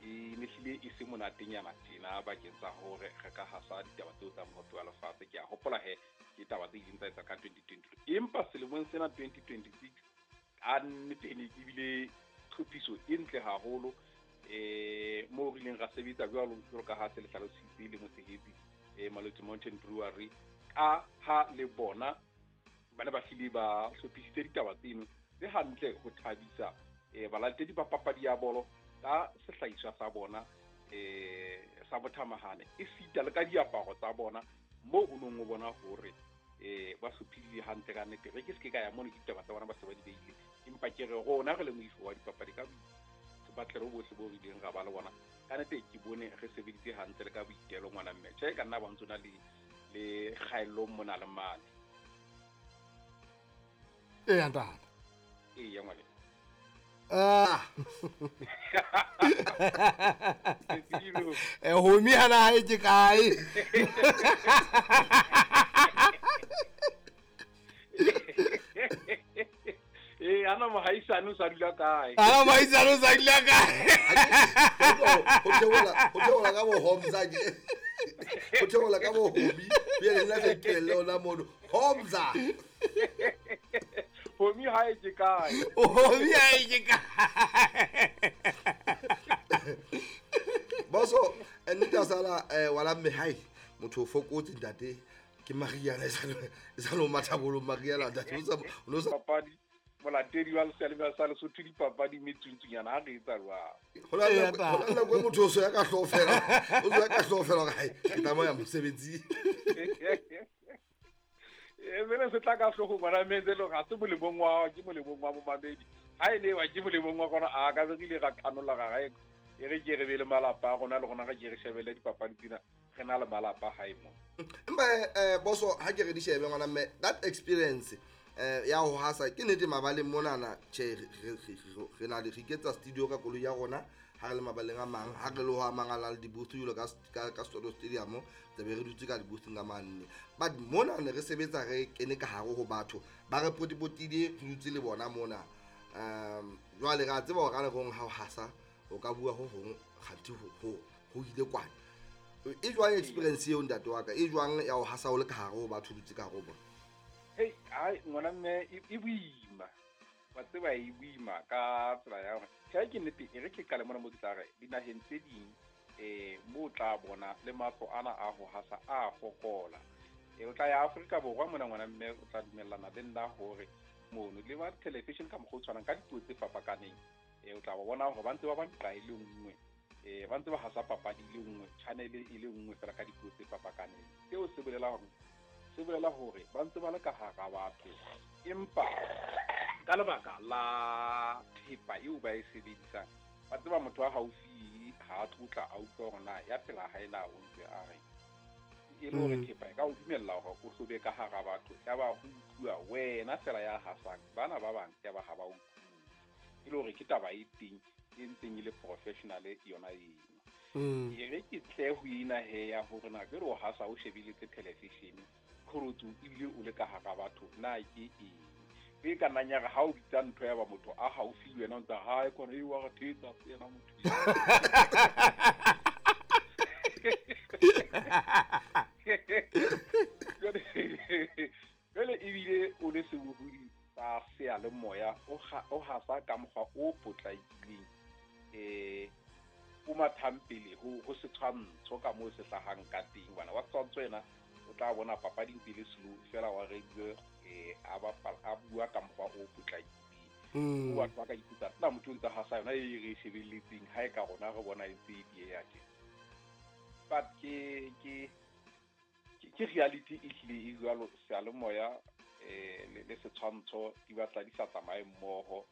E ne hlile e se monatenyana tjena bakeng sa hore re ka hasa ditaba tseo tsa mohope wa lefatshe. Ke a hopola he ke taba tse ileng tsa etsa ka 2022, empa selemong sena 2026 ka nnete e ne ebile tlhophiso e ntle haholo, moo re ileng ra sebetsa jwalo jwalo ka ha se le hlalositse le motshehetsi, Maloti Mountain Brewery, ka ha le bona ba ne ba hlile ba hlophisitse ditaba tseno tse hantle ho thabisa balatedi ba papadi ya bolo ka sehlahiswa sa bona sa bothamahane, esita le ka diaparo tsa bona, moo o nong o bona hore ba hlophile hantle ka nnete. Re ke se ke ka ya mono, ke ditaba tsa bona ba se ba di beile, empa ke re rona re le moifo wa dipapadi ka sepatlelo bohle bo re ileng ra ba le bona, ka nnete ke bone re sebeditse hantle le ka boitelo, ngwana mme. Tjhe, ka nna ba ntse na le kgaellong mona le mane. Eya, ntate. Eya, ngwane. Ah. Homi hana hae ke kae? Ana mohaisane o sa dula kae? Ana mohaisane o sa dula kae? Ho theola ka bo Homza ke. Ho theola ka bo Homi. Pele nna se kelle ona mono. Homza. Homi hae ke kae? Homi hae ke kae? Boso, nnete sala wala mme hae motho o fokotse ntate ke Mariana e sa lo mathabolo Mariana ntate o sa papadi molatedi wa Lesale sa Lesotho dipapadi metsuntsunyana ha re etsa jwang. Ho na le nako e motho o so ya ka hlooho fela, o so ya ka hlooho fela hore hai ke tsamaya mosebetsi. Mene se tla ka hlooho ngwana mme le ga se molemong wa ke molemong wa momamedi. Ha e le wa ke molemong wa gona a ka re ile ra qanolla ga gae e re ke re be le malapa a rona le rona re ke re shebelle dipapadi tsena re na le malapa hae mo. Empa boso ha ke re di shebe ngwana mme that experience ya ho hasa ke nnete mabaleng monana tjhe re na le re iketsa studio ka koloi ya rona ha re le mabaleng a mang, ha re le ho a mang a le di-booth jwalo ka Soweto Stadium, tlabe re dutse ka di-boothing ka manne. But mona ne re sebetsa re kene ka hare ho batho ba re potipotile, re dutse le bona mona. Jwale re a tseba hore ka nako e nngwe ha o hasa o ka bua ho hong kganthi ho ile kwana. E jwang experience eo ntate wa ka? E jwang ya ho hasa o le ka hare ho batho, o dutse ka hare ho bona? Hey, ai ngwana mme e boima. Wa tseba e boima ka tsela ya hore tjhe ke nnete e re ke qale mona mo ke tla re dinaheng tse ding mo tla bona le matlo ana a ho hasa a fokola. O tla ya Afrika Borwa mona ngwana mme o tla dumellana le nna hore mono le ba television ka mokgwa o tshwanang ka dipuo tse fapakaneng. O tla bona hore ba ntse ba ba nqa e le nngwe, ba ntse ba hasa papadi e le nngwe, channel e le nngwe fela ka dipuo tse fapakaneng. Seo se bolela hore se bolela hore ba ntse ba le ka hara batho, empa ka lebaka la thepa eo ba e sebedisang, ba tseba motho wa haufi ha a tlotla a utlwa hore na ya pela hae na o ntse a re e le hore thepa e ka o dumella hore o hlobe ka hara batho, ya ba ho utlwa wena fela ya hasang, bana ba bang ya ba ha ba utlwe. E le hore ke taba e teng e ntseng e le professional yona eno. E re ke tle ho ena he ya hore na ke re o hasa o shebeletse television qholotso ebile o le ka hara batho na ke eng. E ka nna ya re ha o bitsa ntho ya ba motho a haufi le wena o ntse hae kwana e wa re thetsa se yena motho. Jwale ebile o le sebohodi sa seyalemoya o hasa ka mokgwa o potlakileng, o mathang pele ho setshwantsho ka moo se hlahang ka teng. Bana wa setshwantsho ena o tla bona papadi ntse le slow fela wa radio a bua ka mokgwa o potlakileng. O batho ba ka ipotsa nna motho o ntse hasa yona e re shebelletseng ha e ka rona re bona e ntse e dieha tje. But ke reality e hlile e jwalo, seyalemoya le setshwantsho di batla di sa tsamaye mmoho.